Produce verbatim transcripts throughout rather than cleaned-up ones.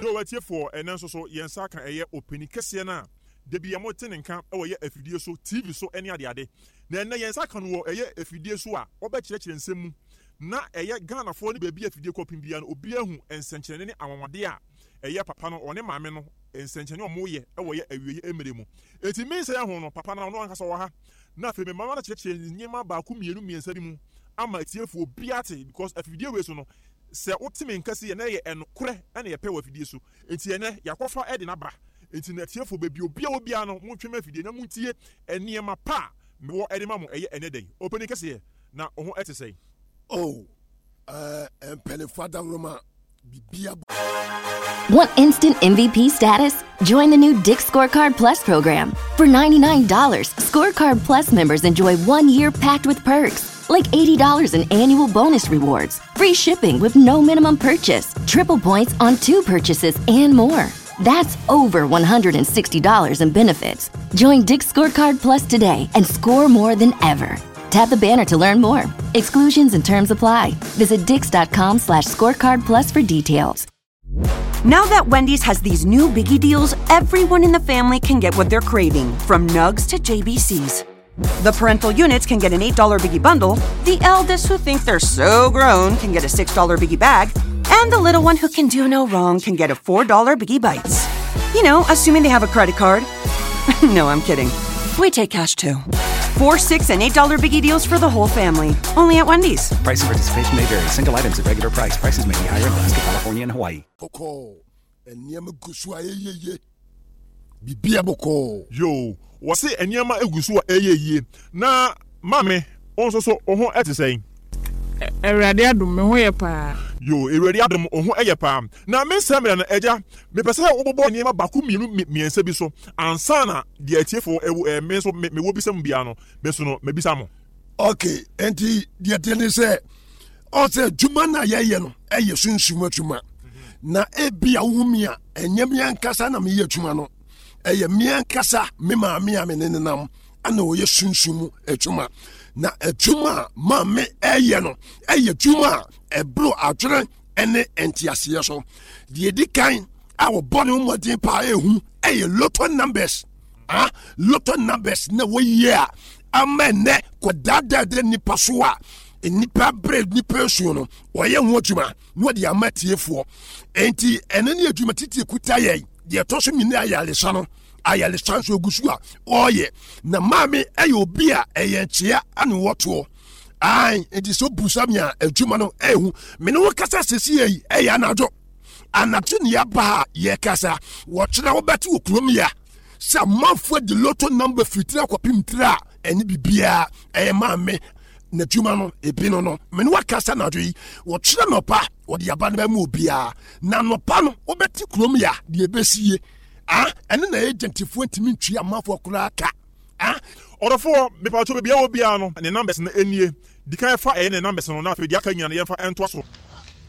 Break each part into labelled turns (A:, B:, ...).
A: Yo, atiefoɔ, ɛnɛ nso so yɛn nsa ka ɛyɛ ɔpanin kɛseɛ no a da bi a mote ne nka wɔ ɛyɛ afidie so, T V so ne adeade. Na ɛnɛ yɛn nsa ka no wɔ ɛyɛ afidie so a wɔbɛkyerɛkyerɛ nsɛm mu na ɛyɛ Ghanafoɔ ne baabi afidie kɔpem biara no, obiara hu nsɛnkyerɛnne ne anwanwadeɛ a ɛyɛ papa no, ɔne maame no, nsɛnkyerɛnne a ɔmoyɛ ɛwɔ yɛ awieɛ mmerɛ mu. Enti me nsɛm ho no, papa no, ɔno ankasa wɔ ha na afei me mama no kyerɛkyerɛ nneɛma baako, mmienu, mmiɛnsa bi mu ama atiefoɔ obiara te, because afidie wei so no, sɛ wote me nka si yɛ na ɛyɛ ɛnokorɛ ɛna yɛpɛ wɔ afidie so. Nti ɛnɛ yɛakɔfa ɛde n'aba. Nti na atiefoɔ, baabi obiara wɔ biara no, montwe ma afidie na montie nneɛma pa a mewɔ ɛde ma mo. Ɛyɛ ɛnɛ dɛn, ɔpanin kɛseɛ, na wo ho ɛte sɛn?
B: Oh, uh, mpanimfoɔ adaworoma, bibia.
C: Want instant M V P status? Join the new Dick's Scorecard Plus program. For ninety-nine dollars, Scorecard Plus members enjoy one year packed with perks, like eighty dollars in annual bonus rewards, free shipping with no minimum purchase, triple points on two purchases, and more. That's over one hundred sixty dollars in benefits. Join Dick's Scorecard Plus today and score more than ever. Tap the banner to learn more. Exclusions and terms apply. Visit dicks dot com slash scorecard plus for details.
D: Now that Wendy's has these new biggie deals, everyone in the family can get what they're craving, from nugs to J B Cs. The parental units can get an eight dollar biggie bundle, the eldest who think they're so grown can get a six dollar biggie bag, and the little one who can do no wrong can get a four dollar biggie bites. You know, assuming they have a credit card. No, I'm kidding. We take cash too. Four, six, and eight dollar biggie deals for the whole family. Only at Wendy's.
E: Price and participation may vary. Single items at regular price. Prices may be higher in Alaska, California, and Hawaii.
B: Bɔkɔɔ, nneɛma gu so a ɛyɛ yie, bibia bɔkɔɔ.
A: Yo, wɔse nneɛma egu so a ɛyɛ yie. Na maame, wo nso so wo ho ɛte sɛn?
F: Awurade adom, me ho yɛ paa.
A: Yo, Awurade adom, wo ho ɛyɛ paa. Na me nsɛm mmerɛ no, agya, mepɛ sɛ wobobɔ nneɛma baako, mmienu, mmiɛnsa bi so ansa na deɛ atiefoɔ ɛwɔ ɛɛ me nso mewɔ bisa mu biara no, me nso no mabisa mo.
B: Ok, nti deɛ teɛ ne sɛ ɔsɛ adwuma no a yɛyɛ no ɛyɛ sunsum adwuma, na ebi a wohu mi a, ɛnyɛ me ankasa na meyɛ adwuma no, ɛyɛ me ankasa me maame a me ne nenam ana ɔyɛ sunsum mu adwuma. Na adwuma a maame ɛyɛ no ɛyɛ adwuma a ɛboro adwene ɛne nteaseɛ so. Deɛ di kan a wɔbɔ ne ho mmɔden paa ɛhu ɛyɛ lotto numbers. Ah, lotto numbers na wɔyie a ama ɛnɛ kɔdaadaa de nipa so a nipa bere nipa esuo no, wɔyɛ ho adwuma na wɔde ama tiefoɔ. Nti ɛno ne adwuma titi kuta yɛn. Deɛ ɛtɔ so mmienu, ayaresa no, ayaresa nso egu so a ɔreyɛ. Na maame ɛyɛ obi a ɛyɛ nkyea ana wɔtoɔ ayi. Nti sɛ obusa mi a, adwuma no ɛhu mene wo kasa sisi yɛ yi, ɛyɛ anadwo anadwo ne yaba a yɛkasa. Wɔkyerɛ wobɛte wɔ kurom ya sɛ amanfoɔ de lotto number fitiri akɔpem tiri a ɛne biribiara ɛyɛ maame n'adwuma no ebi no no mene wakasa anadwo yi. Wɔkyerɛ nɔpa wɔde aba no bɛma obiara, na nɔpa no wobɛte kurom ya deɛ ɛbɛsie ah, ɛne na agentfoɔ ntumi ntwi amanfoɔ koraa ka ah.
A: Ɔdɔfoɔ, mepatwo, baabi a wɔ biara no, ne numbers no nie. Di kan fa ɛyɛ ne numbers no, na afei deɛ aka nyina no yɛmfa ɛntoa so.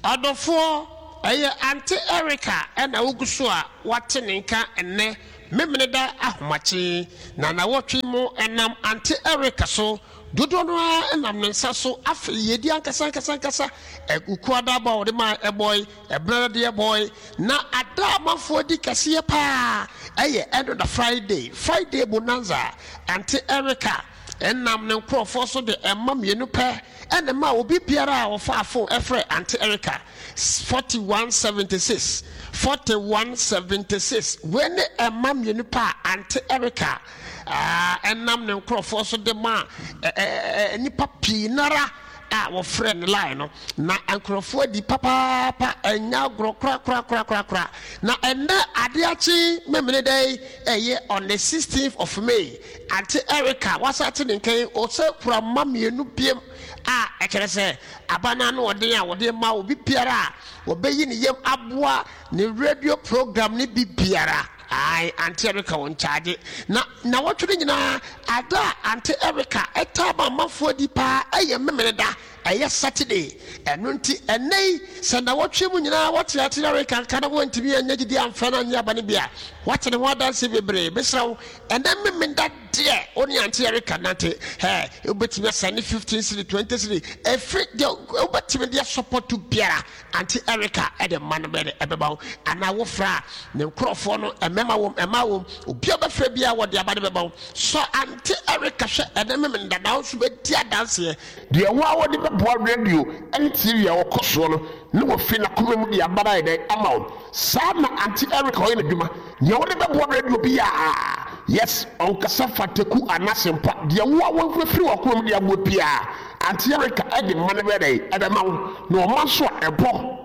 G: Ɔdɔfoɔ, ɛyɛ Auntie Erica ɛna wogu so a wate ne nka ɛnnɛ Memeneda ahomakye. Na nawɔtwe mu ɛnam Auntie Erica so, dodoɔ no ara ɛnam ne nsa so. Afei yɛdi ankasa ankasa ankasa ɛkukuada bɔ a wɔde maa ɛbɔe ɛbrɛ deɛ bɔe. Na ada amanfoɔ di kɛseɛ paa ɛyɛ ɛno da Friday, Friday bonanza. Auntie Erica ɛnam ne nkurɔfoɔ so de ɛma mmienu pɛ ɛna ma obi biara a wɔfa phone ɛfrɛ Auntie Erica forty-one seventy-six forty-one seventy-six. Wei ne ɛma mmienu pɛ a Auntie Erica ɛnam ne nkurɔfoɔ so de ma nnipa pii nara a wɔfrɛ ne line no. Na nkurɔfoɔ di papaapa, ɛnya agorɔ korakorakorakorakora. Na ɛnɛ adeɛ akye Memene dɛ ɛyɛ on the sixteenth of May, Auntie Erica wasa te ne nkan ɔsɛ kura mma mmienu biem a ɛkyerɛ sɛ aba no ano ɔden a wɔde ma obi biara a wɔbɛyi ne yam aboa ne radio program ne bi biara. Ae, Auntie Erica wɔn nkyagye na na wɔtwe no nyinaa. Ada a Auntie Erica ɛtaa ma amanfoɔ di paa ɛyɛ Memene da. Ɛyɛ Saturday. Ɛno nti, ɛnnɛ yi, sɛ nnawɔtwe mu nyinaa wote Auntie Erica nka na woantumi annya gyidie amfrɛ no annye aba no bi a, woate ne ho adanseɛ bebree. Mesrɛ wo, ɛnnɛ Memenda deɛ, wo ne Auntie Erica nnante. Hɛ, wobɛtumi asɛnde fifteen cedi, twenty cedi, ɛfiri deɛ wobɛtumi de asɔpɔto biara, Auntie Erica de ma no bɛde ɛbɛba wo. Anaa wofrɛ a, ne nkorɔfoɔ no, mmarima wom, mmaa wom, obi a wobɛfrɛ biara wɔde aba no bɛba wo. Sɔ Auntie Erica hwɛ ɛnnɛ Memenda na wo nso bɛdi adanseɛ.
H: Deɛ wo ara wode bɛboa radio ne T V a wɔkɔ soɔ no na wafi n'akoma mu de aba no ayɛ dɛn ama wo. Saa na Auntie Erica ɔyɛ n'adwuma. Nea wode bɛboa radio biara, yes, ɔnkasa fa teku anaa asempa, deɛ wo ara wofiri w'akoma mu de aboa biara, Auntie Erica de ma no bɛyɛ dɛn? Ɛbɛma wo. Na ɔma nso a, ɛbɔ.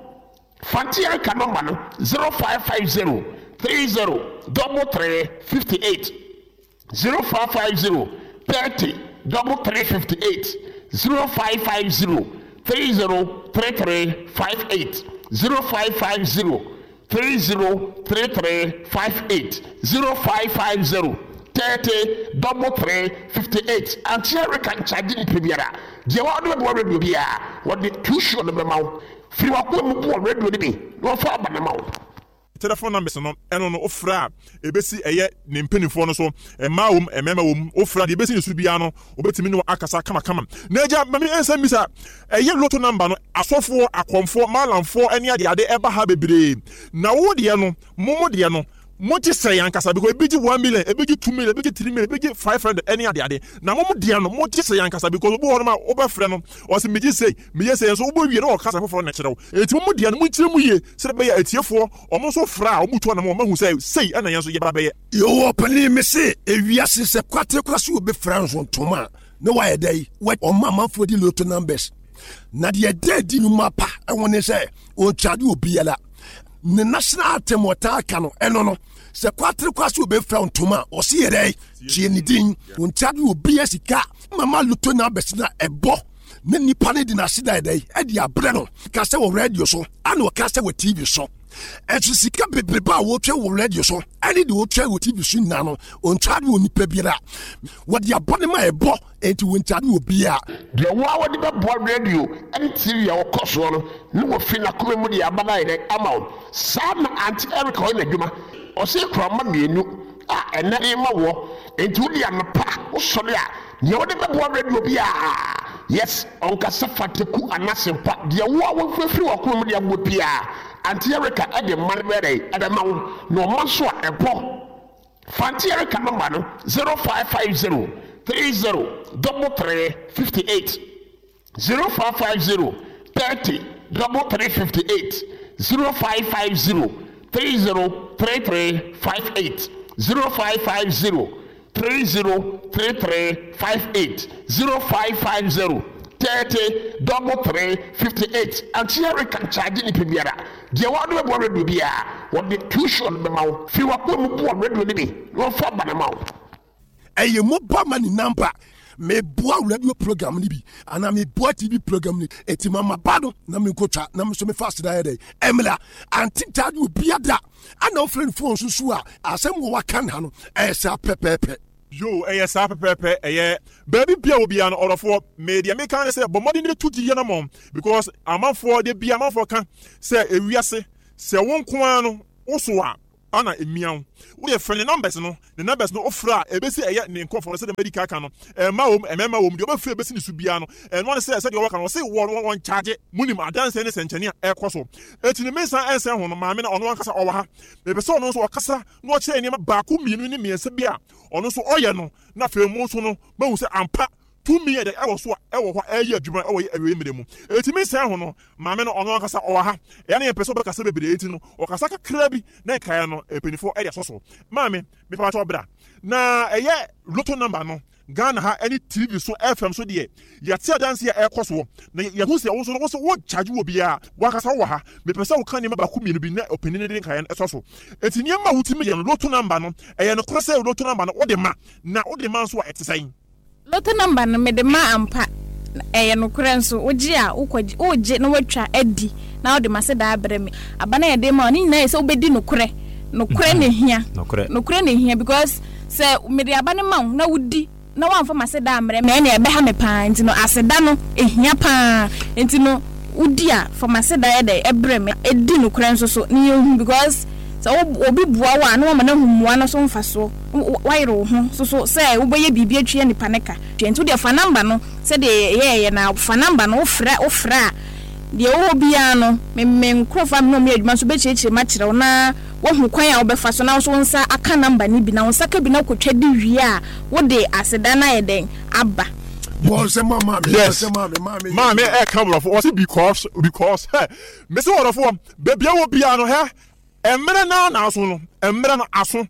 H: Fa Auntie Erica nɔmba no, zero five five zero three zero double three fifty eight. zero five five zero thirty double three fifty eight zero five five zero three zero three three five eight zero five five zero three zero three three five eight zero five five zero thirty double three fifty eight. Auntie Erica nkyagye nipa biara deɛ wɔde bɛboa radio biara wɔde too sure no bɛma wo firi wakoma mu boɔ radio no bi na wɔfa aba no ma wo.
A: Telephone numbers no, ɛno no wofrɛ a ɛbɛsi ɛyɛ ne mpanimfoɔ no so, mmaa wom, mmarima wom, wofrɛ a deɛ ɛbɛsi ne so biara no wɔbɛtumi ne wo akasa kamakama. Na agya ma me nsa mmisa, ɛyɛ lotto number no asɔfoɔ, akɔmfoɔ, maalamfoɔ ne adeade ɛba ha bebree, na wo deɛ no, mo mo deɛ no mogye sɛn ankasa? Because ebi gye one million, ebi gye two million, ebi gye three million, ebi gye five hundred ɛne adeade. Na mo mo deɛ no mogye sɛn ankasa? Because obi wɔ hɔ nom a wobɛfrɛ no ɔsɛ megye sei, meyɛ sei, nso wobɛwie na ɔkasa foforɔ na ɛkyerɛ wo. Enti mo mo deɛ no monkyerɛ mu yie sɛdeɛ ɛbɛyɛ a atiefoɔ wɔn nso frɛ a wɔtu anam wɔn ahu sɛ sei ɛna yɛn nso yɛba bɛyɛ.
B: Yehowa ɔpanin mese ewiase sɛ kwate kora so obi fra nso ntoma a na wayɛ dɛ ɔma amanfoɔ di lotto numbers na deɛ ɛda adi nnwuma pa ɛho ne sɛ ɔnkyade obiara ne national anthem ɔtaa ka no ɛno no sɛ kwatere kwa so obɛfira ntoma a ɔse yɛ dɛ tie ne din ɔnkyade obiara sika mama lotto numbers na ɛbɔ ne nipa ne de n'aseda yɛ dɛ ɛde abrɛ no ka sɛ wɔ radio so ana ɔka sɛ wɔ T V so ɛnso sika bebrebe a wɔtwa wɔ radio so ɛne deɛ wɔtwa wɔ T V so nyinaa no ɔnkyade wɔ nipa biara wɔde abɔ ne ma ɛbɔ enti wɔnkyade wɔ biara.
H: Deɛ wo a wɔde bɛboa radio ne T V a wɔkɔ soɔ no ne wɔfi n'akoma mu de aba no ayɛ dɛ ama wo. Saa na Auntie Erica ɔyɛ n'adwuma. Ɔsɛ kurama mmienu a ɛnɛ de ma wɔ enti wode anɔpa wosɔre a deɛ wode bɛboa radio biara, yes, ɔnkasa fa teku anaa asempa, deɛ wo a wofiri w'akoma mu de aboa biara, Auntie Erica de ma no bɛyɛ dɛ ɛbɛma wo. Na ɔma nso a ɛbɔ. Fa Auntie Erica nɔmba no zero five five zero three zero double three fifty eight zero five five zero thirty double three fifty eight zero five five zero three zero three three five eight zero five five zero three zero three three five eight zero five five zero thirty double three fifty eight. Auntie Erica nkyagye nipa biara deɛ wɔde bɛboa radio biara wɔde too sure no bɛma wo firi wakoma mu boa radio no bi na wɔfa aba no ma wo.
B: Ɛyɛ mobile money number meboa radio program no bi anaa meboa T V program no eti mama ba no na menkotwa na me nso mefa aseda yɛ dɛ ɛmla ante gyaade obia da ana wofrɛ no phone so so a asɛm wɔ waka ha no ɛyɛ saa pɛpɛɛpɛ.
A: Yo, ɛyɛ saa pɛpɛɛpɛ. Ɛyɛ baabi bia wɔ bia no ɔdɔfoɔ me deɛ meka ne sɛ bɔ mmɔden de to gyidie no mɔ because amanfoɔ de bia amanfoɔ ka sɛ ewiase sɛ wo nko ara no wo so a ana emia wo wo yɛ frɛ ne numbers no ne numbers no ofra a ebesi ɛyɛ ne nkɔfo no sɛ de medical ka no ɛma wom ɛmɛma wom deɛ ɔbɛfrɛ ebesi ne so bia no ɛno ne sɛ sɛdeɛ ɔwɔ ka no ɔse wɔ wɔn charge munim adanse ne sɛnkyɛnne a ɛkɔ so eti ne mensa ɛnsɛn ho no maame na ɔno ankasa ɔwɔ ha mepɛ sɛ ɔno nso ɔkasa na ɔkyerɛ nneɛma baako mmienu ne mmiɛnsa bi a ɔno nso ɔyɛ no na afei mo nso no mahu sɛ ampa tumi yɛ dɛ ɛwɔ so a ɛwɔ hɔ a ɛyɛ adwuma ɛwɔ yɛ awie mmerɛ mu eti mensa ho no maame no ɔno ankasa ɔwɔ ha ɛyɛ ne yɛpɛ sɛ ɔbɛkasa bebree eti no ɔkasa kakra bi na nkaeɛ no mpanimfoɔ ɛde asɔ so maame mepa kyɛw bra na ɛyɛ lotto number no Ghana ha ɛne T V so F M so deɛ yɛte adanse a ɛkɔ soɔ na yɛhu sɛ wo nso no wo so wo charge wɔ biara wankasa wɔ ha mepɛ sɛ woka nneɛma baako mmienu bi na ɔpanin no de nkaeɛ no ɛsɔ so eti nneɛma a wotumi yɛ no lotto number no ɛyɛ nokorɛ sɛ lotto number no wode ma na wode ma nso a ɛte sɛn?
F: Lotto number no mede ma ampa ɛyɛ nokorɛ nso wogye a wokɔgye wogye na watwa adi na wode ma sɛ daa brɛ me aba na yɛde ma ne nyinaa yɛ sɛ wobɛdi nokorɛ nokorɛ na ehia nokorɛ na ehia because sɛ mede aba ne ma wo na wodi na woamfa m'aseda ammrɛ me a, ɛnneɛ ɛbɛha me pa ara. Nti no, aseda no, ɛhia pa ara. Nti no, wodi a, fa m'aseda yɛ dɛn? Brɛ me. Di nokorɛ nso so na yɛnhu because sɛ wo obi boa wo a, na woama no ahu mmoa no so mfasoɔ. Woayere wo ho nso so sɛ wobɛyɛ biribi atua nipa no ka. Nti wodeɛ fa number no sɛdeɛ yɛyɛeɛ no ara, fa number no, wofrɛ wofrɛ a, deɛ ɛwɔ hɔ biara no, me me nkorɔfoɔ a me ne wɔn yɛ adwuma nso bɛkyerɛkyerɛ mu akyerɛ wo na woahu kwan a wobɛfa so na wo nso wo nsa aka number no bi na wo nsa ka bi na wokɔtwa di wie a, wode aseda no ayɛ dɛn? Aba.
A: Yes, maame ɛka borɔfo ɔse because because hɛ mese wɔdɔfoɔ baabi a wɔ biara no hɛ mmerɛ no na aso no mmerɛ no aso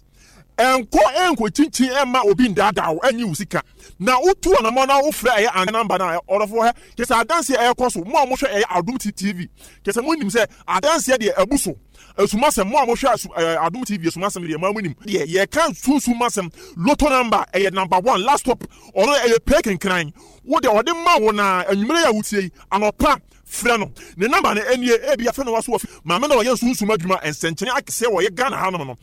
A: ɛnkɔ ɛnkɔ kyinkyin ɛmma obi ndaadaa wo ɛnye wo sika na wotu anamɔ na wofrɛ ɛyɛ an namba no a ɔdɔfoɔ hɛ kyɛ sɛ adanseɛ ɛkɔ so mo a mohwɛ ɛyɛ Adom T V kyɛ sɛ monim sɛ adanseɛ deɛ abu so asumasɛm mo a mohwɛ asu ɛɛ Adom T V asumasɛm deɛ mo a monim deɛ yɛka sunsum asɛm. Lotto number ɛyɛ number one last stop. Ɔno ɛyɛ pɛ kenkran wo deɛ ɔde ma wo na anwummerɛ yi a wotie yi anɔpa frɛ no. Ne number no ɛnie, ebi afɛ no waso wɔ maame na ɔyɛ sunsum adwuma nsɛnkyerɛ akɛseɛ wɔ yɛ Ghana hanom no.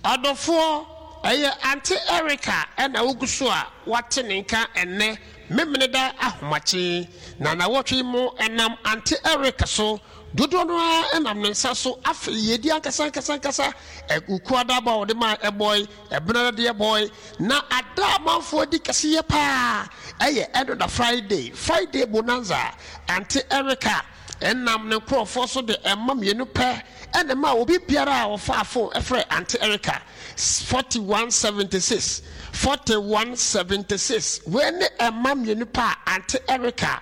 G: Ɔdɔfoɔ, ɛyɛ Aunty Erica na wogu so a woate ne nka ɛnnɛ Memeneda ahomakye, na nnawɔtwe yi mu ɛnam Aunty Erica so, dodoɔ no ara nam ne nsa so. Afei yiedie ankasa ankasa ankasa, Wukuada aba a wɔde maa ɛbɔe, Ɛbenada deɛ bɔe, na ada a amanfoɔ di kɛseyɛ paa ɛyɛ ɛno da Friday, Friday Bonanza. Aunty Erica nam ne nkorɔfoɔ so de mma mmienu pɛ na ɛmaa obi biara a ɔfaa fon frɛɛ Aunty Erica, forty one seventy six, forty one seventy six. Wei ne mma mmienu pɛ a Aunty Erica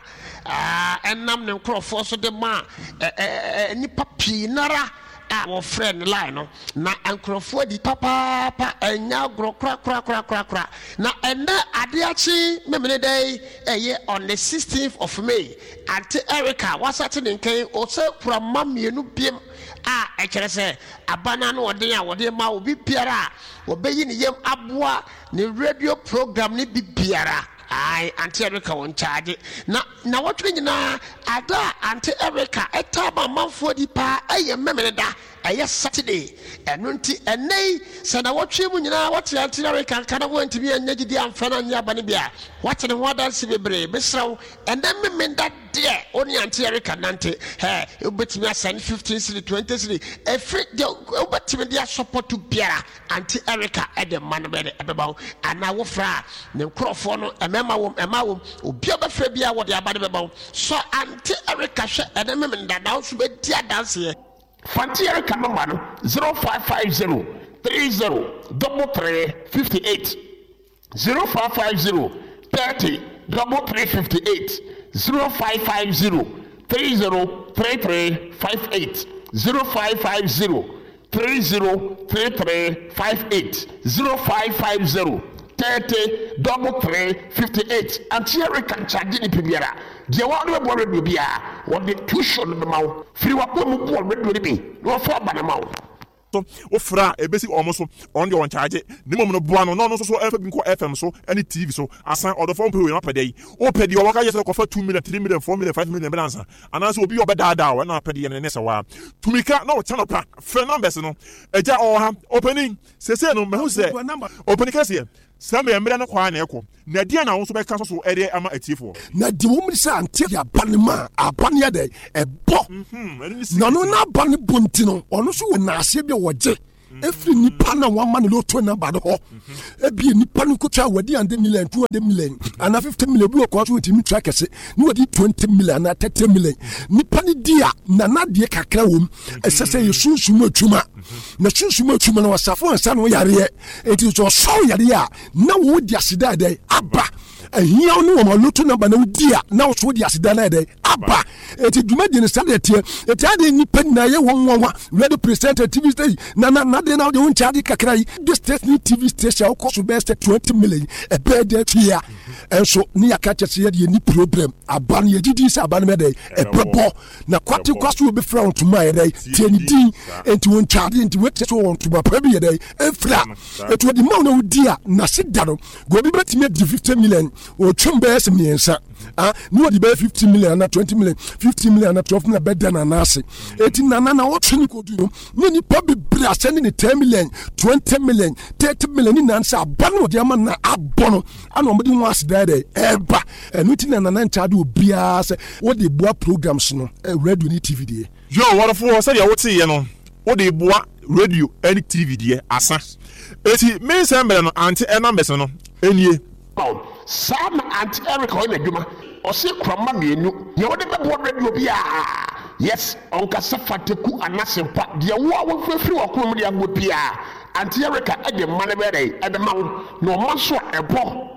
G: nam ne nkorɔfoɔ so de maa nnipa pii no ara a wɔfrɛɛ no line no. Na nkorɔfoɔ adi papaapa, ɛnyɛ agorɔ korakorakorakorakora. Na ɛnnɛ adeɛ akye Memeneda yi, ɛyɛ on the sixteenth of May, Aunty Erica wasate ne nka yi, ɔsɛ kura mma mmienu biom a ɛkyerɛ sɛ aba no ano ɔden a wɔde ma obi biara a wɔbɛyi ne yam aboa ne radio program no bi biara. Ae, Aunty Erica wɔ nkyagye. Na nnawɔtwe no nyinaa, ada a Aunty Erica taa ma amanfoɔ di paa yɛ Memeneda, ɛyɛ Saturday. Ɛno nti, ɛnnɛ yi, sɛ nnawɔtwe mu nyinaa wote Aunty Erica nka na woantumi annya gyidie amfrɛ no annye aba no bi a, woate ne ho adanse bebree. Mesrɛ wo, ɛnnɛ Memenda deɛ, wo ne Aunty Erica nnante. Hɛ, wobɛtumi asɛne fifteen cedi, twenty cedi, ɛfiri deɛ wobɛtumi de asɔpɔto biara. Aunty Erica de mma no bɛde ɛbɛba wo anaa wofrɛ a ne nkorɔfoɔ no mmarima wom mmaa wom obi a wobɛfrɛ biara wɔde aba no bɛba wo. Sɔ Aunty Erica hwɛ ɛne Memenda na wo nso bɛdi adanseɛ.
H: Fa Aunty Erica nɔmba no zero five five zero three zero double three fifty eight, zero five five zero thirty double three fifty eight, zero five five zero three zero three three five eight, zero five five zero three zero three three five eight, zero five five zero thirty double three fifty eight. Auntie Erica nkyagye nipa biara deɛ wɔn de bɛboa radio biara wɔde tuition no bɛma wo firi w'akoma mu boa radio no bi na wɔfa aba no ma wo.
A: So wofrɛ a ebesi wɔn so, ɔno deɛ ɔnkyagye, na mmom no boa no na ɔno nso so ɛmfa bi nkɔ F M so ne T V so. Asan, ɔdɔfoɔ mpɛ wei na wapɛ dɛn? Wopɛ deɛ ɔwɔ ka yɛ sɛ kɔfa two million, three million, four million, five million bɛda ansa, anaasɛ obi a ɔbɛdaadaa wo ɛna apɛ deɛ no ne sɛ waa. Tumi ka na ɔkyɛ nɔpa, frɛ numbers no. Agya ɔwɔ ha, ɔpanin, seesei no mahu sɛ ɔpanin kɛseɛ, saa mmerɛ mmerɛ no kɔ ara na ɛkɔ, na ɛdeɛn na wo nso bɛka so de ama atiefoɔ?
B: Na deɛ wɔn sɛ ante de aba no mu a, aba no yɛ dɛ ɛbɔ. Na ɔno n'aba no bɔ nti no, ɔno nso wɔ naaseɛ bi a wɔgye efiri nipa na wama no lotto namba no hɔ. Ebi nipa no kotwa wɔde hundred million, two hundred million, anaa fifty million, obi wɔ kɔ so wɔtumi twa kɛse ne wɔde twenty million anaa thirty million. Nipa no di a nana deɛ kakra wɔ mu. Ɛsɛ sɛ yɛ sunsum adwuma. Na sunsum adwuma no ɔsafo ansa na ɔyareɛ. Eti sɛ ɔsɔw yareɛ a na wɔn di aseda dɛ aba. Ahia ne wɔn lotto namba na wodi a na wɔso di aseda na dɛ aba. Eti dwumadie no saa deɛ teɛ. Eti adeɛ nipa nyinaa yɛ wɔn nwanwa. Radio presenter, T V station, na na na deɛ na wɔde wɔn nkyɛn ade kakra yi. This station ne T V station a wɔkɔ so bɛyɛ sɛ twenty million ɛbɛyɛ dɛ tua. Ɛnso ne yɛaka kyerɛ sɛ yɛde yɛni problem. Aba no yɛgye di sɛ aba no bɛyɛ dɛ ɛbɛbɔ. Na kwate kwa so wɔbɛfira wɔn ntoma yɛ dɛ tie ne din. Enti wɔn nkyɛn ade nti wɔakyɛ so wɔn ntoma pa bi yɛ dɛ ɛmfira. Eti wɔde ma wɔn na wɔdi a n'ase da no. Gobi bɛtumi adi fifty million Ɔtwam bɛyɛ sɛ mmiɛnsa ah, ne wɔde bɛyɛ fifty million ana twenty million, fifty million ana twelve million bɛda Nana ase. Eti Nana na ɔtwe ne kodu no, ne nipa bebree asɛ ne ne ten million, twenty million, thirty million ne nyinaa sɛ aba no ɔde ama na abɔ no ana wɔde ho aseda dɛ ɛɛba. Ɛno ti na Nana nkyɛn de obiara sɛ wɔde boa programs no, radio ne T V deɛ.
A: Yo, wɔrefoɔ, sɛdeɛ woteeɛ no, wode boa radio ne T V deɛ asa. Eti me nsɛm mmerɛ no ante ɛnambɛs no nie.
H: Saa na Aunty Erica ɔyɛ n'adwuma. Ɔse kurama mmienu deɛ wɔde bɛboa radio biara, yes, ɔnkasa fateku anasempa deɛ wo a wɔmfirafiri wakoma mu de aboa biara, Aunty Erica ɛde mma no bɛyɛ ɛbɛma wo na ɔma nso a ɛbɔ.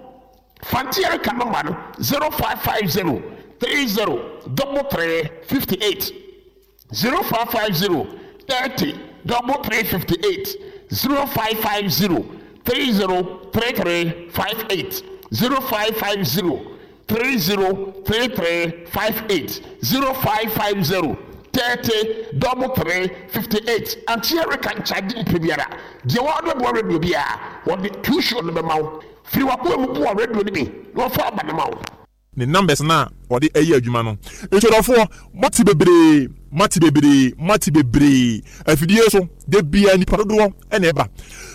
H: Aunty Erica number no zero five five zero three zero double three fifty-eight, zero five five zero thirty double three fifty-eight, zero five five zero thirty thirty-three fifty-eight, zero five five zero thirty thirty-three fifty-eight, zero five five zero thirty double three fifty-eight. Aunty Erica nkyagye nipa biara deɛ wɔde boa radio biara, wɔde tuition no bɛma wo firi wakoa mu boa radio no bi na wɔfa aba no ma wo.
A: Ne numbers na ɔde ɛyɛ adwuma no. Ntwerɛfoɔ, mate bebree, mate bebree, mate bebree. Afidie so de bia nipa dodoɔ ɛna ɛba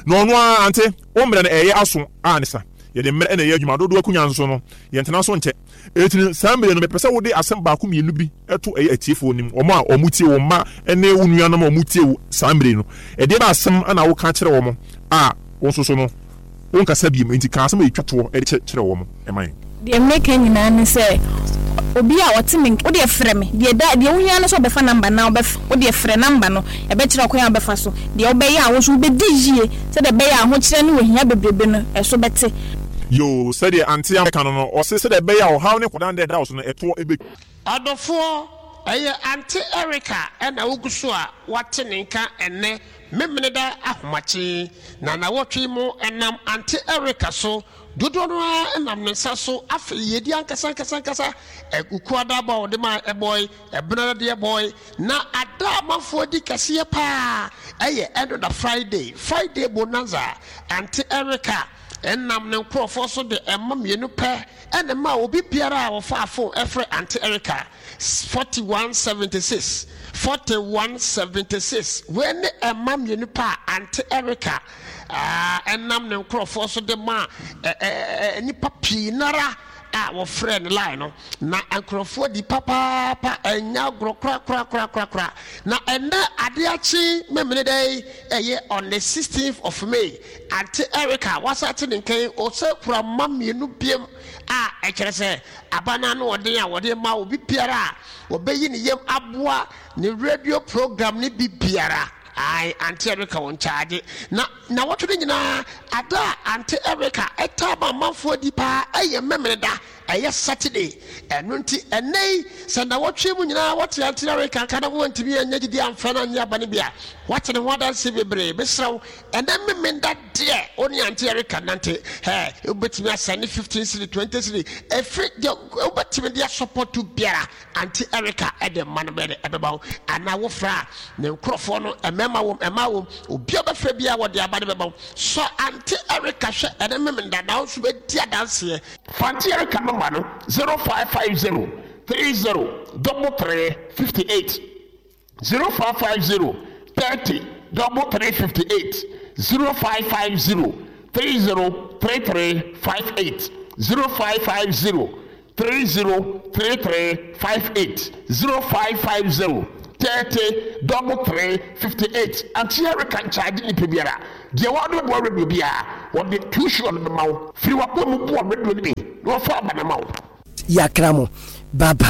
A: na ɔno ara ante wɔn mmerɛ no ɛyɛ aso a ne sa yɛde mmerɛ ɛna ɛyɛ adwuma dodoɔ akonnwa nso no yɛntena so nkyɛ. Eti saa mmerɛ no, mepɛ sɛ wode asɛm baako mmienu bi ɛto ɛyɛ atiefoɔ nim, wɔn a wɔn tie, wɔn mma ɛne wɔn nuanom a wɔn tie wo saa mmerɛ no. Ɛdeɛ bɛ asɛm ɛna woka kyerɛ wɔn a wɔn nso so no wɔnkasa biem, nti ka asɛm a ɛtwa toɔ ɛde kyerɛ wɔn ɛma yɛn.
F: Deɛ mmeka nyinaa ne sɛ obi a ɔte me, wodeɛ frɛ me. Deɛ da deɛ wohia no sɛ wobɛfa number na wobɛf wodeɛ frɛ number no, ɛbɛkyerɛ ɔkwan a wobɛfa so deɛ wobɛyɛ a wo nso wobɛdi yie, sɛdeɛ ɛbɛyɛ a ahokyerɛ ne ohia bebrebe no ɛso bɛte.
A: Yo, sɛdeɛ ante ameka no no ɔse sɛdeɛ ɛbɛyɛ a ɔhaw ne kɔdan dɛ ɛda wo so no ɛtoɔ ɛbɛ.
G: Ɔdɔfoɔ, ɛyɛ Aunty Erica ɛna wogu so a wate ne nka ɛnɛ Memeneda ahomakye na nawɔtwe mu. Ɛnam Aunty Erica so, dodoɔ no ara nam ne nsa so. Afei yɛdi ankasa ankasa ankasa Wukuada bɔ a wɔde ma ɛbɔe, ɛbenada deɛ bɔe, na ada amanfoɔ di kɛseɛ paa ɛyɛ ɛnoda Friday, Friday Bonanza. Aunty Erica ɛnam ne nkurɔfoɔ so de ɛma mmienu pɛ ɛna ma obi biara a wɔfa phone ɛfrɛ Aunty Erica forty-one seventy-six, forty-one seventy-six. Wei ne ɛma mmienu pɛ a Aunty Erica ɛnam ne nkurɔfoɔ so de ma nnipa pii nara a wɔfrɛ no line no, na nkurɔfoɔ di papaapa, ɛnya agorɔ korakorakorakorakora. Na ɛnɛ adeɛ akye Memene dɛ ɛyɛ on the sixteenth of May, Aunty Erica wasa te ne nkan ɔsɛ kura mma mmienu biem a ɛkyerɛ sɛ aba no ano ɔden a wɔde ma obi biara a wɔbɛyi ne yam aboa ne radio program ne bi biara. Ae, Aunty Erica wɔn kyaagye na na wɔtwe no nyinaa. Ada a Aunty Erica ɛtaa ma amanfoɔ di paa ɛyɛ Memene da, ɛyɛ Saturday. Ɛno nti ɛnɛ yi sɛ na wɔtwe mu nyinaa wɔte Aunty Erica nka na wɔntumi anyɛ gyidi amfrɛ no anyɛ aba no bi a wɔate ne ho adanse bebree. Mesrɛ wo, ɛnɛ Memenda deɛ wo ne Aunty Erica nante ɛ, wobɛtumi asɛne fifteen cedi, twenty cedi, ɛfiri deɛ wobɛtumi de asɔpɔto biara, Aunty Erica ɛde mma no bɛde ɛbɛba wo anaa wofrɛ a ne nkurɔfoɔ no, mmarima wom, mmaa wom, obi a wobɛfrɛ biara wɔde aba no bɛba wo. Sɔ Aunty Erica hwɛ ɛne Memenda na wo nso bɛdi adanseɛ.
H: Aunty Erica number no zero five five zero three zero double three fifty-eight, zero five five zero thirty double three fifty-eight, zero five five zero thirty thirty-three fifty-eight, zero five five zero thirty thirty-three fifty-eight, zero five five zero thirty double three fifty-eight. Aunty Erica nkyagye nipa biara deɛ wɔde boa radio biara, wɔde tuition no bɛma wo firi wakoa mu boa radio no bi na wɔfa aba no ma wo.
I: Yɛakra mo, bye bye.